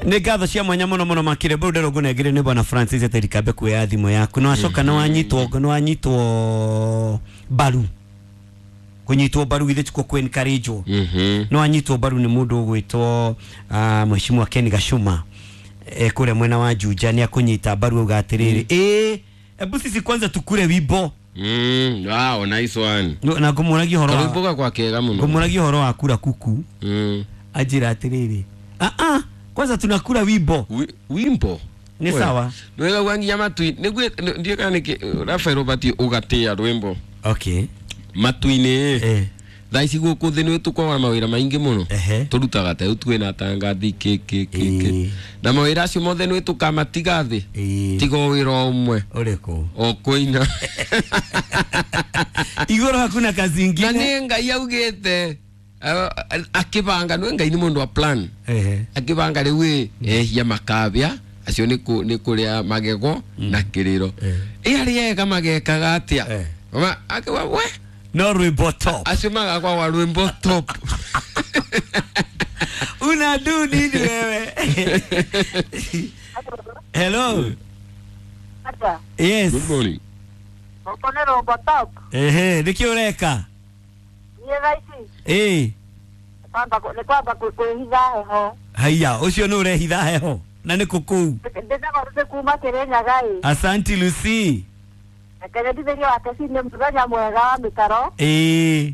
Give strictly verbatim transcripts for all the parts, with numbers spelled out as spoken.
Nĩ ngatho cia mwanya mũno mũno makire bau ndero ngũnengere nĩ bwana Francis Eterikambe kuoya thimũ yaku no acoka no wanyitwo no wanyitwo mbaru kunyitwo mbaru githĩ tikuo kũ encourage Mhm. no anyitwo mbaru nĩ mũndũ ũgwĩtwo ah, mheshimiwa Ken Gashuma e, kũrĩa mwena wa Juja nĩ akũnyita mbaru auga atĩrĩrĩ ĩ ebu sisi kwanza tukure wimbo. Mm, wow, nice one. No, na ngũmũragia ũhoro wa Karwimbo gakwa kega muno. ngũmũragia ũhoro wa kura kuku Mm. anjĩra atĩrĩrĩ ah ah kwanza tunakura wimbo Wi- Wimbo. Nĩ sawa. Nwega gwa nginya matui nĩguo ndiĩ kana nĩkĩ Rafael ũbatiĩ ũgatĩa rwĩmbo okay matu-inĩ eh thaa ici gũkũ thĩ nĩ tũkoragwo na mawĩra maingĩ mũno Ehe. tũrutaga ta rĩu twĩna tangathi kĩ kĩ kĩ kĩ Ĩĩ. na mawĩra acio mothe nĩ tũkamatiga thĩ Ĩĩ. tiga o wĩra o ũmwe ũrĩkũ o kũina. Igũrũ hakuna kazi Na ingine nĩ Ngai augĩte eh, akĩbanga nĩ Ngai nĩ mũndũ wa plan ehe akĩbanga rĩu ĩ ehia makabĩa acio nĩ kũ- nĩ kũrĩa magego na kĩrĩro Eh. ĩ arĩa ega magekaga atĩa Eh. Ma- akiuga, we no rwimbo top acio magakwa wa rwĩmbo top. Una do nini wewe? Hello. Ata, Yes. Good morning. gũkũ nĩ Rombo Top. Ehe nĩkĩ ũreka? Niĩ thaa ici ĩ kwamba nĩ kwamba kwĩ- kwĩhitha heho. Haiya ũcio nĩ ũrehitha heho na nĩ kũ kũu? Ndĩtagwo Lucy kuma Kĩrĩnyaga ĩ. Asanti Lucy. Reke nyendithĩrie wake ci nĩ mũthenya mwega wa mĩtaro ĩ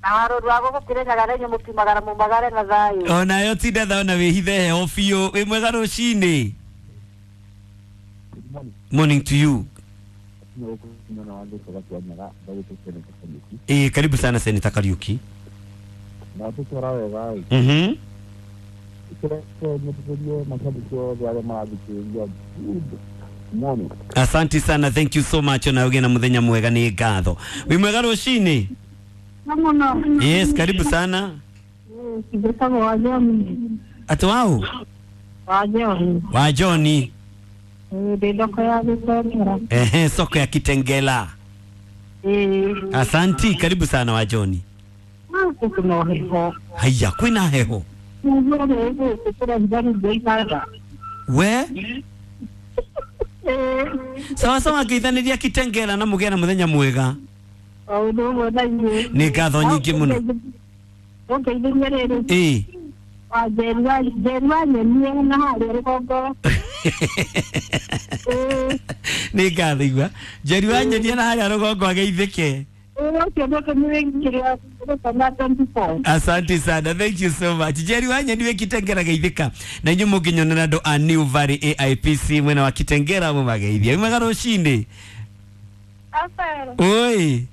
na warũru wa gũkũ Kĩrĩnyaga na inyuĩ mũkiumagara mumagare na thayũ. Onayo tinda tha ona wĩhithe heho biũ wĩ mwega rũcinĩ. Morning to you. Ĩ karibu sana Senator Kariuki. Na tũtwara wega ĩ Mhm. kĩreke nyendithĩrie mashabiki othe arĩa marathikĩrĩria. Good morning. Asante sana, thank you so much ona ũgĩe na mũthenya mwega nĩ ngatho. Wĩ mwega rũcinĩ? Mũno. Yes, karibu sana. Ndĩtagwo Wajoni. Atĩ wau? Wajoni. Wa Johni. Ndĩ thoko ya Gĩtengera. Ehe, soko ya Kitengela. Ĩĩ. Asanti, karibu sana wa Johni. Gũkũ no heho. Haiya, kwĩna heho. Nĩguo rĩu gũkũ tũrehitha indo ibanda. We? Ĩĩ. Sawa sawa ngeithanĩria Kitengela na mũgĩe na mũthenya mwega. O ũndũ ũmwe na inyuĩ. Nĩ ngatho nyingĩ mũno. Ũngeithĩrie rĩrĩ. Ĩ. Wa Njeri wa Njeri wa nyenie na harĩa rũgongo. Ĩĩ. Nĩ ngatho igua. Njeri wa nyenie na harĩa rũgongo ageithĩke. Ĩĩ ũcio nĩ kĩrĩa gĩkana twenty-four. Asante sana, thank you so much. Jerry wa nyeni wĩ Kitengera geithĩka. Na inyuĩ mũngĩnyonera andũ a New Valley A I P C mwena wa Kitengera mũmageithie. Wĩ mwega rũcinĩ? Rafael. Oi.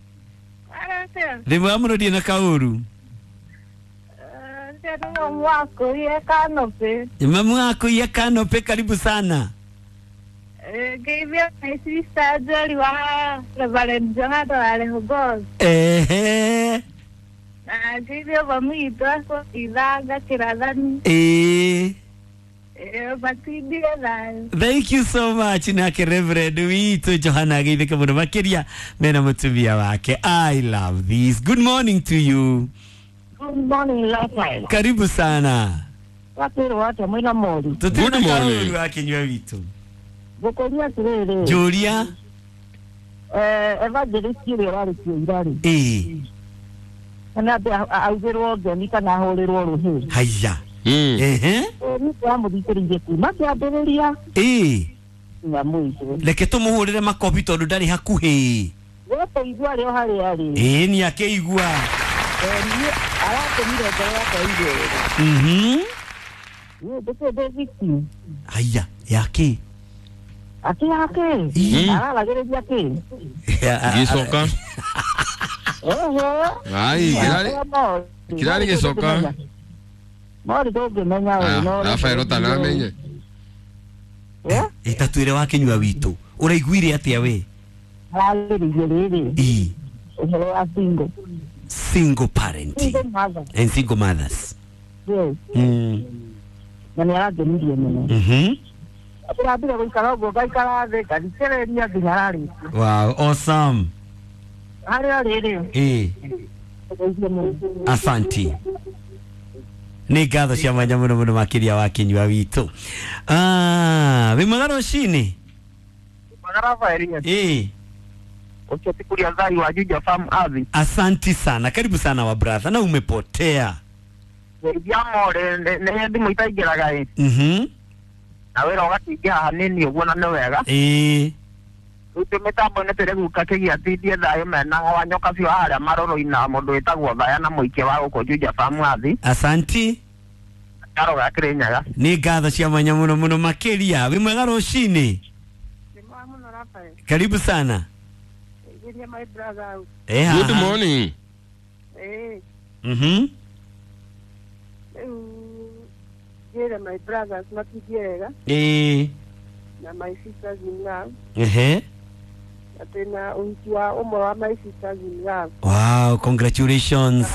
Aratia. Ndĩ mwega mũno ndirĩ na kaũru. Ndĩrĩ mwakũiye kanopĩ. Mamu akũiye kanopĩ, karibu sana. Ngeithio my sister Njeri wa Reverend Johana wa Rehoboth. Ehe. Na ngeithio mami witũ akũithanga kĩrathani. Ĩĩ. Matindire thayũ. Thank you so much nake Reverend witũ Johana ageithĩke mũno makĩria mena mũtumia wake. I love this. Good morning to you. Good morning, Rafael. Karibu sana. Wakwĩrwo atĩa mwĩna mori? Tũtirĩ na Good morning. kaũru wa kĩnyua witũ. Ngũkũria atĩrĩrĩ. Njũria. Eh, evangelist ũrĩa ũrarĩtie ira rĩ. Ĩĩ. Kana atĩ augĩrwo ngemi kana ahũrĩrwo rũhĩ. Haiya. Mm. Ehe. Niĩ ndĩramũthikĩrĩirie kuma kĩambĩrĩria Ĩĩ. nginya mũico. Reke tũmũhũrĩre makobi tondũ ndarĩ hakuhĩ. Wetũigua arĩ o harĩa arĩ. Ĩĩ nĩ akĩigua. Niĩ aratũmire ngoro yakwa igĩrĩ. Mhm. Niĩ ndĩkĩ ndĩ victim. Haiya, yakĩ? Akĩ yakĩ? Ĩĩ. Araragĩrĩria kĩ? Gĩcoka. Ehe. Ai, kĩrarĩ kĩrarĩ gĩcoka. Mori ndũngĩmenya Ah, we no. Rafael ũtanamenye. Eh? Ĩtatwĩre wa kĩnyua witũ. Ũraiguire atĩa we? Ararĩrĩirie rĩrĩ. Ĩĩ. Ũhoro wa single. Single parenting Single mother. and single mothers. Yes. Mm. Na nĩ arangenirie mũno. Mhm. Ndĩrambire gũikara ũguo ngaikara thĩ ngathikĩrĩria nginya ararĩkia. Wow, awesome. Harĩa rĩrĩ. Ĩĩ. Ngeithie mũno. Asanti. Nĩ ngatho cia mwanya mũno mũno makĩria wa kinyua witũ. Ah, wĩ mwega rũcinĩ? Eh. Ucio ti kuria thai wa Juja Farm Avi. Asanti sana, karibu sana wa brother, na umepotea. Ngeithia more nĩ thimũ itaingĩraga ĩ. Mhm. Na wĩra ũgakĩingĩra hanini ũguo na nĩ wega. Eh. Rĩu twĩ mĩtambo-inĩ tũrĩ kĩgia tindie thayũ mena wa nyoka biũ harĩa marũrũ-inĩ na mũndũ wĩtagwo Thaya na mũikia wa gũkũ Juja Farm Avi. Asanti. Karo ga Kĩrĩnyaga. Nĩ ngatho cia mwanya mũno mũno makĩria. Wĩ mwega rũcinĩ? Karibu sana. My brother. Eh, Good morning. Eh. Mhm. Eh, my brothers matigiega. Eh. Na my sisters in love. Eh. Atena unjua umwe wa my sisters in love. Wow, congratulations.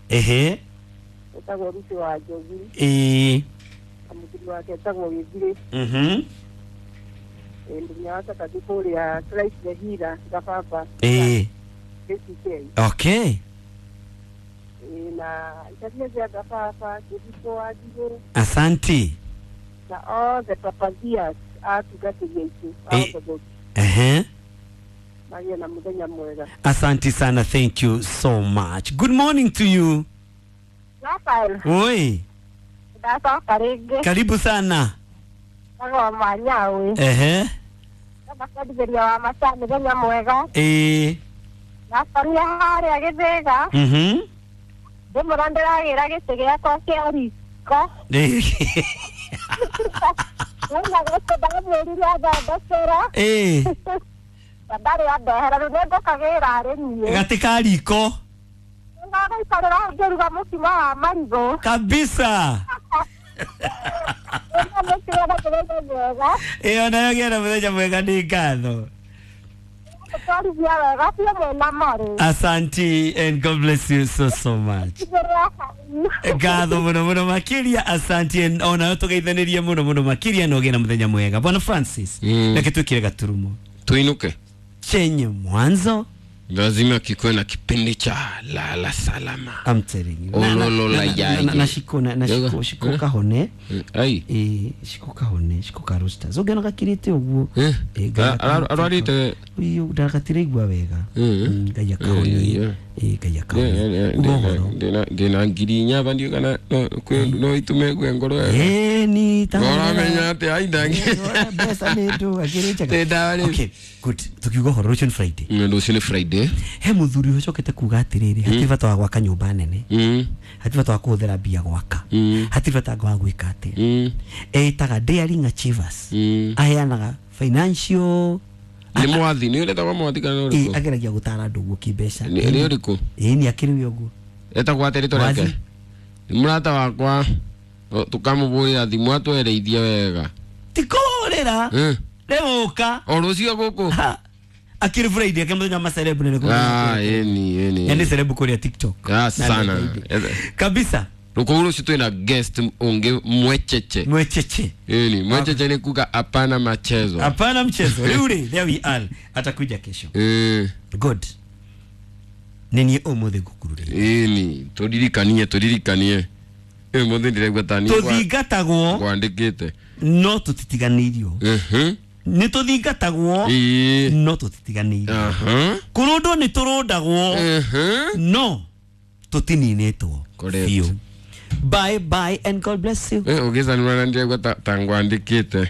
Eh. Etagwo Ruth wa Njogu. Eh. Amuthuri wake etagwo Gĩthirĩ. Mhm. Mũthenya wa Saturday kũrĩa Christ the Healer Gababa. Eh. K C K. Okay. Eh, na itatia cia Gababa Kĩriko wa Njirũ. Asanti. Na all the papazias atungatĩri aitũ a Orthodox. Eh. Magĩe na mũthenya mwega. Asanti sana, thank you so much. Good morning to you. Rafael. Oi. Ndacoka rĩngĩ. Karibu sana. Agoma nyawe. Ehe. Ndakendithĩria wa maca mũthenya mwega. Eh. Ndakorire harĩa Gĩthĩga. Mhm. Ndĩmũra ndĩragĩra gĩtĩ gĩakwa kĩa riko. Eh. Nĩna gĩtĩ ndamwĩrire athondekera. Eh. Na ndarĩ andehera rĩu nĩngũkagĩra arĩ niĩ. Gatĩ ka riko. Nĩngagũikarĩra hau ngĩruga mũkimo wa marigũ. Kabisa. Ĩyo nayo gĩa na mũthenya mwega nĩ ngatho. Asanti and God bless you so so much. Ngatho mũno mũno makĩria, asanti and onayo tũgeithanĩrie mũno mũno makĩria na ũgĩe na mũthenya mwega. Bwana Francis, reke twĩkĩre gaturumo. Tuinuke. Chenye mwanzo lazima kikuwe na kipindi cha lala salama. I'm telling you. Ololo la yaye. Na shiko na shiko shiko kahone. Ai. Eh, shiko kahone, shiko ka roasters. Ogena gakirite uguo. Eh, arwarite. Uyu ndakatire igwa wega. Ngai akahone. Eh, ngai akahone. Ndina ndina ngiri inya bandi kana no itume gwe ngoro. Eh, ni ta. Uramenya ati ai ndangi. Mbeca ni ndu akirichaga. Okay, good. Tukiuga horo rũciũ nĩ Friday. Rũciũ nĩ Friday. He muthuri ucokete kuga atiriri hatirĩ bata wa gwaka nyũmba nene, hatirĩ bata wa kũhũthĩra mbia gwaka, hatirĩ bata wa gwĩka atĩa. Etaga Daring Achievers, aheanaga financial. Nĩ mwathi nĩ ũretagwo mwathi kana ũrĩkũ? Ageragia gũtara andũ ũguo kĩmbeca. Nĩ ũrĩkũ? Ĩĩ nĩ akĩrĩ we ũguo. Etagwo atĩ rĩtwa rĩake? Nĩ mũrata wakwa tũkamũbũrĩra thimũ atwereithie wega. Ti kũhũrĩra rĩũka o rũciũ gũkũ. Akiri Friday kama ndo maserebu nene Ah, eni eni. Yani serebu kuri ya TikTok. Ah, sana. Kabisa. Rukuru situ ina guest unge mwecheche. Mwecheche. Eni, mwecheche ni kuka hapana machezo. Hapana mchezo. Yule, there we are. Atakuja kesho. Eh. Good. Nini omothe gukurure. Eni, turirikanie turirikanie. Eh, mothe ndiregwa tani. Tuthingatagwo. Kwandikite. No tutitiganirio. Mhm. Nĩ tũthingatagwo no tũtitiganĩirio, kũrũndwo nĩ tũrũndagwo no tũtininĩtwo biũ. Bye bye and God bless you. Eh, ũgĩcanũra na ndĩregua ta ngwandĩkĩte.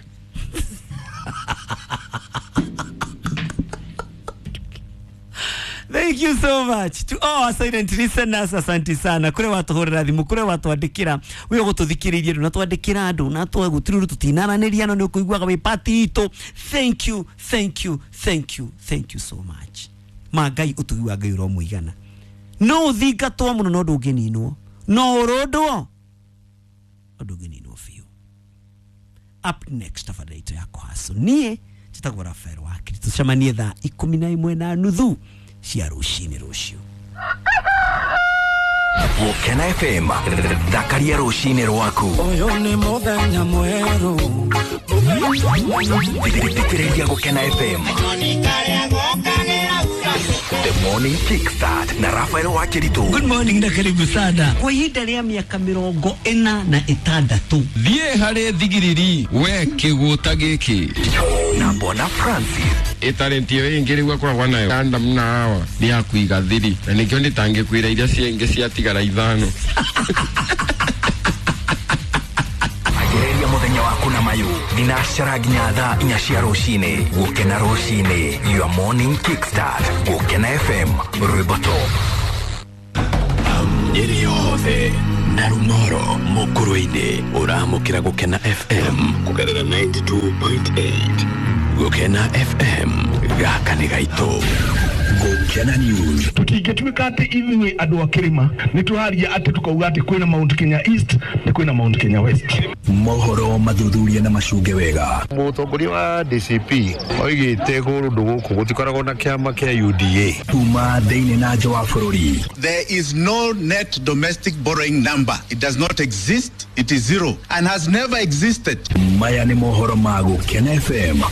Thank you so much to all our silent listeners. Asante sana kure watuhurira thimu, kure watwandikira we ugututhikiririe na twandikira andu na twagutiriru tutinaraniria no ni ukuiguaga wi party itu. Thank you, thank you, thank you, thank you so much. Ma Ngai utugi wa Ngai uromuigana. No thingatwo muno no ndungininwo, no urundwo no ndungininwo biũ. Up next tafadhali itu yako haso nie njĩtagwo Rafael Wakiri, tucemanie thaa ikũmi na ĩmwe na nuthu cia rũcinĩ rũciũ. Gũkena F M thakaria rũcinĩ rwaku. Ũyũ nĩ mũthenya mwerũ. Thikĩrĩria Gũkena F M. The Morning Kickstart na Rafael Wakiritu. Good morning na karibu sana. Kwa ihinda rĩa mĩaka mĩrongo ĩna na ĩtandatũ. Thiĩ harĩ thigiriri we kĩgũta gĩkĩ na Bwana Francis. Ĩtalenti ĩyo ĩngĩ rĩu akoragwo nayo Adam na Hawa nĩ ya kũiga thiri na nĩkĩo ndĩtangĩkwĩra iria ciengĩ ciatigara ithano. Anjĩrĩria mũthenya waku na mayu thinacara nginya thaa inya cia rũcinĩ. Gũkena rũcinĩ, your morning kickstart. Gũkena F M, rwĩmbo top. Nyeri yothe na Rumoro Mukurwe-inĩ ũramũkĩra Gũkena F M kũgerera ninety-two point eight. Gũkena F M gaka nĩ gaitũ. Gũkena News. Tutingĩtuĩka atĩ ithuĩ andũ a kĩrĩma nĩ tũraria atĩ tukauga atĩ kwĩna Mount Kenya East na kwĩna Mount Kenya West. Mohoro mathuthuria na macunge wega. Mũtongoria wa D C P oigĩte kũndũ gũkũ gũtikoragwo na kĩama kĩa U D A. Kuma thĩinĩ na nja wa bũrũri. There is no net domestic borrowing number. It does not exist. It is zero and has never existed. Maya nĩ mohoro ma Gũkena F M.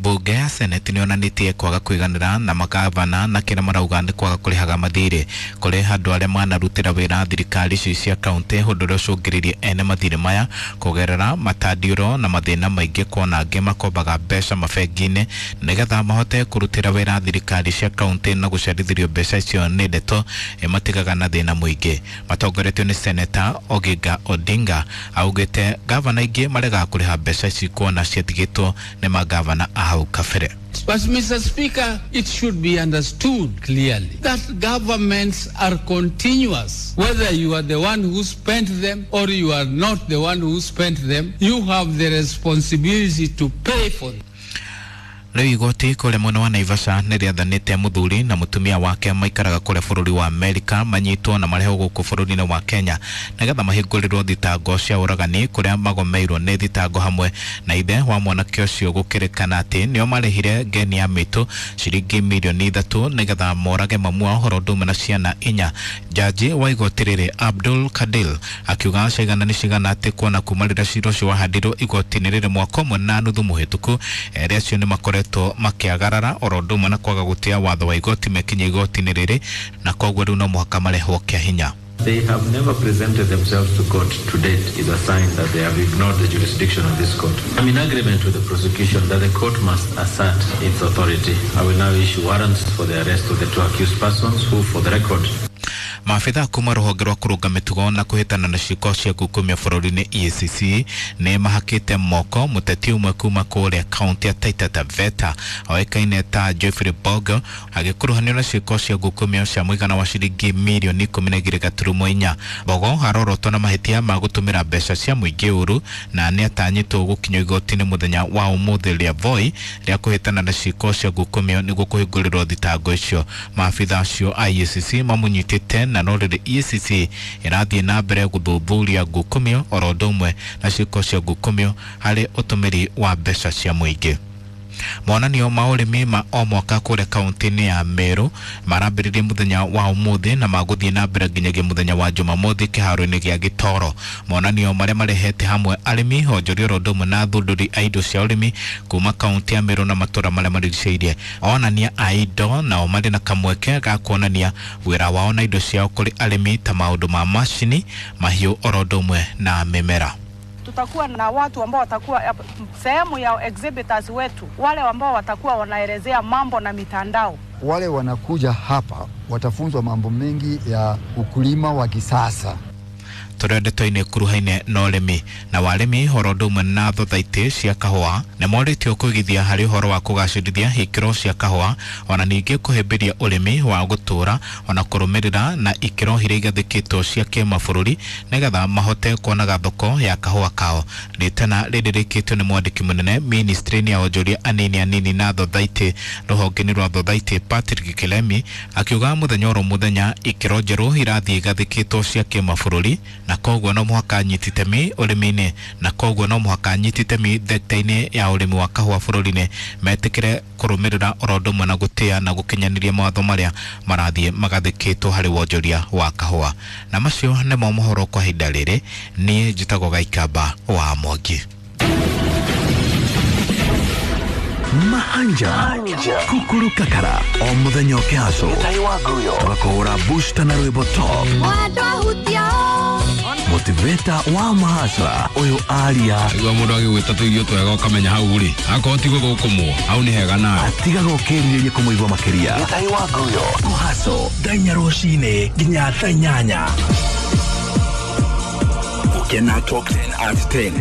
Bunge ya Senate nĩyonanĩtie kwaga kũiganĩra na magavana na kĩrĩa marauga nĩ kwaga kũrĩhaga mathirĩ kũrĩ andũ arĩa manarutĩra wĩra thirikari ici cia kaunti, ũndũ ũrĩa ũcũngĩrĩirie ene mathirĩ maya kũgerera matandiũro na mathĩna maingĩ, kuona angĩ makombaga mbeca mabengi-inĩ nĩgetha mahote kũrutĩra wĩra thirikari cia kaunti na gũcerithĩrio mbeca icio nĩ ndeto ĩmatigaga na thĩna mũingĩ. Matongoretio nĩ Seneta Oginga Odinga augĩte gavana aingĩ maregaga kũrĩha mbeca ici kuona ciatigĩtwo nĩ magavana a hau kabere. But Mister Speaker, it should be understood clearly that governments are continuous. Whether you are the one who spent them or you are not the one who spent them, you have the responsibility to pay for them. Rĩu igoti kũrĩa mwena wa Naivasha nĩ rĩathanĩte mũthuri na mũtumia wake maikaraga kũrĩa bũrũri wa Amerika manyitwo na marehwo gũkũ bũrũri-inĩ wa Kenya nĩgetha mahingũrĩrwo thitango cia ũragani kũrĩa magomeirwo nĩ thitango hamwe na ithe wa mwanake ũcio gũkĩrĩkana atĩ nĩo marĩhire ngeni ya mĩtũ ciringi mirioni ithatũ nĩgetha morage mamu wao ũhoro ũndũ ũmwe na ciana inya. Jaji wa igoti rĩrĩ Abdul Kadil akiuga cigana nĩ cigana atĩ kuona kuma rĩrĩa cira ũcio wahandirwo igoti-inĩ rĩrĩ mwaka ũmwe na nuthu mũhĩtũku erĩ acio nĩ makoretwo makiagarara oro ũndũ ũmwe na kwaga gũtĩa watho wa igoti mekinya igoti-inĩ rĩrĩ na koguo rĩu no mũhaka marehwo kĩa hinya. They have never presented themselves to court to date is a sign that they have ignored the jurisdiction of this court. I'm in agreement with the prosecution that the court must assert its authority. I will now issue warrants for the arrest of the two accused persons who, for the record, maabitha kuma rũhonge rwa kũrũnga mĩtugo na kũhĩtana na ciĩko cia ngukumio bũrũri-inĩ E A C C nĩ mahakĩte moko mũteti ũmwe kuma kũrĩa kaunti ya Taita Taveta oĩkaine ta Geoffrey Bogo agĩkuruhanio na ciĩko cia ngukumio cia mũigana wa ciringi mirioni ikũmi na igĩrĩ gaturumo inya. Bogo arorotwo na mahĩtia ma gũtũmĩra mbeca cia mũingĩ ũru na nĩ atanyĩtwo gũkinyio igoti-inĩ mũthenya wa ũmũthĩ rĩa Voi rĩa kũhĩtana na ciĩko cia ngukumio nĩguo kũhingũrĩrwo thitango icio. Maabitha acio a E A C C mamũnyitĩte na no rĩrĩ E A C C ĩrathiĩ na mbere gũthuthuria ngukumio oro ũndũ ũmwe na ciĩko cia ngukumio harĩ ũtũmĩri wa mbeca cia mũingĩ. Monanio ma ũrĩmi ma o mwaka kũrĩa kaunti-inĩ ya Meru marambĩrĩria mũthenya wa ũmũthĩ na magũthiĩ na mbere nginyagia mũthenya wa Jumamothi kĩharo-inĩ gĩa Gĩtoro. Monanio marĩa marehete hamwe arĩmi, onjoria oro ũndũ ũmwe na athundũri a indo cia ũrĩmi kuma kaunti ya Meru na matũũra marĩa marigicĩirie. Onania a indo nao marĩ na kamweke ga kuonania wĩra wao na indo ciao kũrĩ arĩmi ta maũndũ ma macini, mahiũ oro ũndũ ũmwe na mĩmera. Tutakuwa na watu ambao watakuwa sehemu ya exhibitors wetu, wale ambao watakuwa wanaelezea mambo na mitandao. Wale wanakuja hapa watafunzwa mambo mengi ya ukulima wa kisasa. Tũrĩ ndeto-inĩ kuruhaine na ũrĩmi na warĩmi horo ũndũ ũmwe na thothaitĩ cia kahũa nĩ morĩtio kũigithia harĩ ũhoro wa kũgacĩrithia ikĩro cia kahũa ona ningĩ kũhĩmbĩria ũrĩmi wa gũtũũra ona kũrũmĩrĩra na ikĩro iria igathĩkĩtwo cia kĩmabũrũri nĩgetha mahote kuonaga thoko ya kahũa kao. Rĩtana rĩrĩ rĩkĩtio nĩ mwandĩki mũnene ministry-inĩ ya onjoria anini anini na thothaitĩ rũhonge-inĩ rwa thothaitĩ Patrick Kilemi akiuga mũthenya oro mũthenya ikĩro njerũ irathiĩ igathĩkĩtwo cia kĩmabũrũri na koguo no mũhaka nyiti itemi ũrĩmi-inĩ na koguo no mũhaka nyiti itemi thekta-inĩ ya ũrĩmi wa kahũa bũrũri-inĩ metĩkĩre kũrũmĩrĩra oro ũndũ ũmwe na gũtĩa na gũkinyanĩria mawatho marĩa marathiĩ magathĩkĩtwo harĩ wonjoria wa kahũa. Na macio nĩmo mohoro kwa ihinda rĩrĩ. Niĩ njĩtagwo Gaikamba wa Mwangi. Mahanja Kukuru Kakara o muthenya ũkĩhacwo tũgakũhũra booster na rwĩmbo top motivator wa mahasra ũyũ aria igua mũndũ agĩgwĩta tũirio twega ũkamenya hau rĩ akorwo ti gũthũkũmwo hau nĩ hega nawe atigaga ũkĩrirĩria kũmũigua makĩria kũhaco thaa inya rũcinĩ nginya thaa inyanya. Gũkena Top ten at ten.